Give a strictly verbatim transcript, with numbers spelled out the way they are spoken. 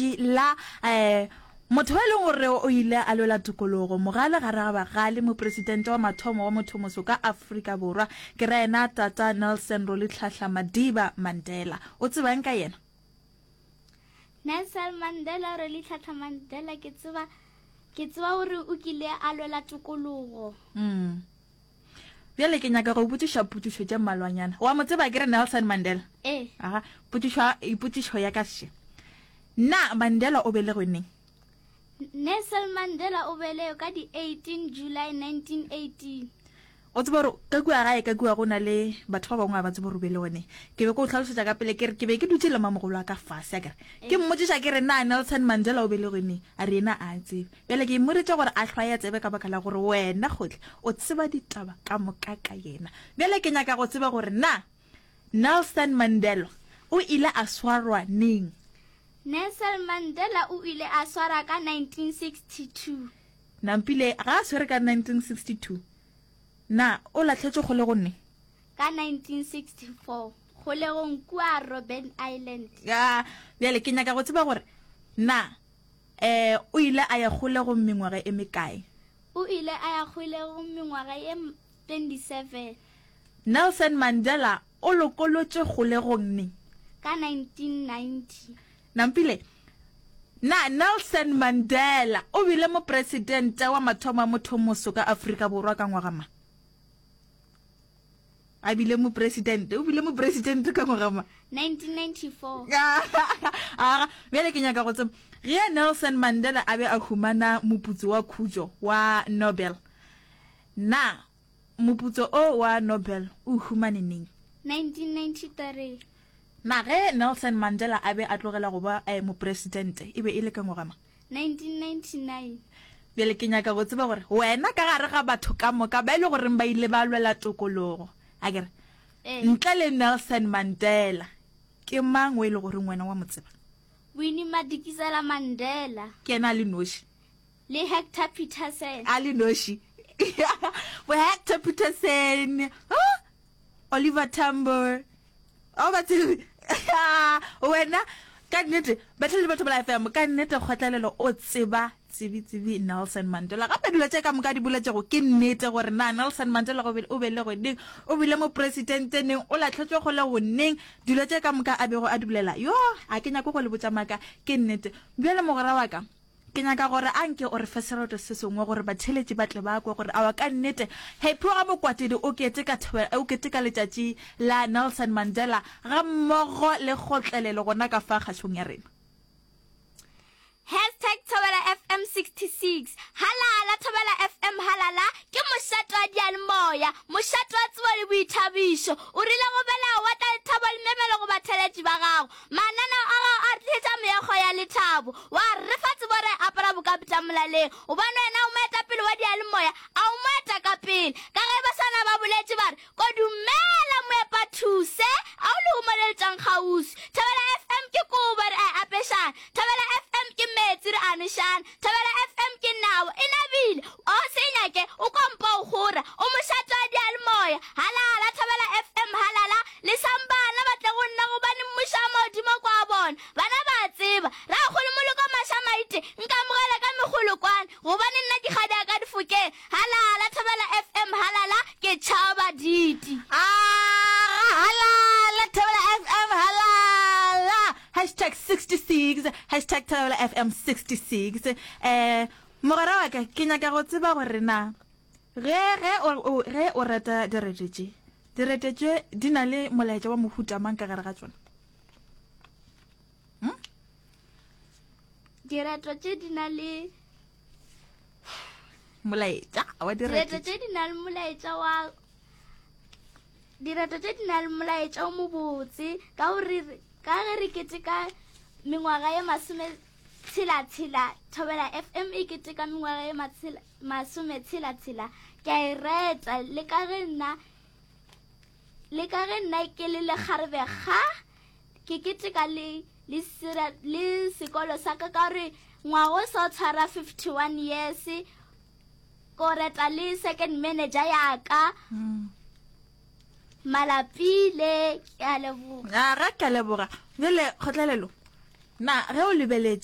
letšatši la um motho e leng gore o ile a lwela tokologo, mogale gare ga bagale, mopresidente wa mathomo wa mothomoso ka Afrika Borwa, ke ra yena Tata Nelson Rolihlahla Madiba Mandela. O tsebang ka yena? Nelson Mandela Rolihlahla Mandela, ke tseba ke tseba gore o kile a lwela tokologo. Mm. Bjale ke nyaka go botšiša potšišo tše mmalwanyana. Wa mo tseba ke re Nelson Mandela? Ee. Aga, potšišo potšišo ya ka še. Na Mandela o belegwe neng? Nelson Mandela o belegwe ka di eighteen July nineteen eighteen. O tseba gore ka kua gae ka kua go na le batho ba bangwe ga ba tsebe gore o belegwe neng. Ke be ke o hlalosetša ka pele ke re ke be ke dutše le mamogolo wa ka fase a ke re ke mmotšiša ke re na Nelson Mandela o belegwe neng, a re yena a tsebe. Bjale ke mmoditše gore a hlwaye tsebe ka baka la gore wena gohle o tseba ditaba ka moka ka yena. Bjale ke nyaka go tseba gore na Nelson Mandela o ile a swarwa neng? Nelson Mandela o ile a swara ka nineteen sixty two. Nampile ga a swere ka nineteen sixty two, na o lahletšwe kgolegong neng? Ka nineteen sixty four, kgolegong kua Robben Island. Ya, bjale ke nyaka go tseba gore na eh o ile a ya kgolegong mengwaga e mekae? O ile a ya kgolegong mengwaga ye twenty seven. Nelson Mandela o lokolotšwe kgolegong neng? Ka nineteen ninety. Nampile, na Nelson Mandela o bile mopresidente wa mathomo wa mothomoso ka Afrika Borwa ka ngwaga mang? A bile mopresidente, o bile mopresidente ka ngwaga mang? nineteen ninety four. Aga, bjale ke nyaka go tseba ge Nelson Mandela a be a humana moputso wa khutšo wa Nobel, na moputso o wa Nobel o humane neng? nineteen ninety three. Na ge Nelson Mandela a be a tlogela go ba eh, mopresidente e be e le ka ngwaga mang? nineteen ninety nine. Bjale ke nyaka go tseba gore wena ka gare ga batho ka moka ba e le goreng ba ile ba lwela tokologo, a ke re Ee. ntle le Nelson Mandela, ke mang o e le goreng wena wa mo tseba? Winnie Madikizela Mandela. Ke yena a le noši. Le Hector Peterson. A le noši. Bo Hector Peterson, huh? Oliver Tambo. O ba tsebe. Wena ka nnete batlhele batho ba F M ka nnete kgotlelelo o tseba tsebi-tsebi Nelson Mandela. Gape dilo tše ka moka di boletšego ke nnete gore na Nelson Mandela o belegwe neng, o bile mopresidente neng, o lahletšwe kgolegong neng, dilo tše ka moka a bego a di bolela. Yo, a ke nyake go le botša maaka, ke nnete. Bjale mogwera wa ka, ke nyaka gore a nke o re fe sereto se sengwe gore batheeletši ba tle ba kwe gore aowa ka nnete Happy wa ga Mokwatedi o keteka o keteka letšatši la Nelson Mandela ga mmogo le kgotlelelo gona ka fa kgašong ya rena. Hashtag Thobela F M sixty six Halala Thobela F M halala ke mošate wa diyalemoya, mošate wa tsebo le boithabišo. O rile go belega wa tla lethabo le memelo go batheeletši ba gago. Mananeo a gago a re tlišetša meokgo ya lethabo, wa re fa tsebo re apara bokapita molaleng. Gobane wena o moetapele wa diyalemoya, a o moeta ka pele. Ka ge baswana ba boletše ba re, Kodumela moepathuse, a o lehumo le le tšwang kgauswi. Thobela F M ke kobo re a e apešana, Thobela F M ke meetse re a nošana, Thobela F M ke nabo e nabile, o se e nyake o kompa o kgora, o mošate wa diyalemoya. Halala Thobela F M halala, lesang bana ba tle go nna gobane mmušo wa magodimo ke wa bona. Bana ba a tseba, Rakgolo Moloko Mašamaite, nkamogele ka megolokwane gobane nna ke kgadi ya ka difokeng. Halala Thobela F M halala, ke tšhaba diti. Aga halala Thobela F M halala, hashtag sixty six, hashtag Thobela F M sixty six. Eh, mogwera wa ka, ke nyaka go tseba gore na ge ge o, o, ge o reta direto tše, direto tše di na le molaetša wa mohuta mang ka gare ga tšona? Hm? Direto tše di na le molaetša wa direto tše di na le molaetša wa direto tše di na le molaetša o mobotse ka gore ka ge re keteka mengwaga ye masome tshela tshela Thobela F M e keteka mengwaga ye masome tshela tshela, ke a e reta le ka ge nna le ka ge nna ke le lekgarebe ga ke keteka le le sira le sekolo sa ka ka gore ngwago sa tshwara fifty one years, ko reta le second manager ya ka mm. Malapile. Ke a leboga. Aga ke a leboga. Bjale kgotlelelo, na ge o lebeletše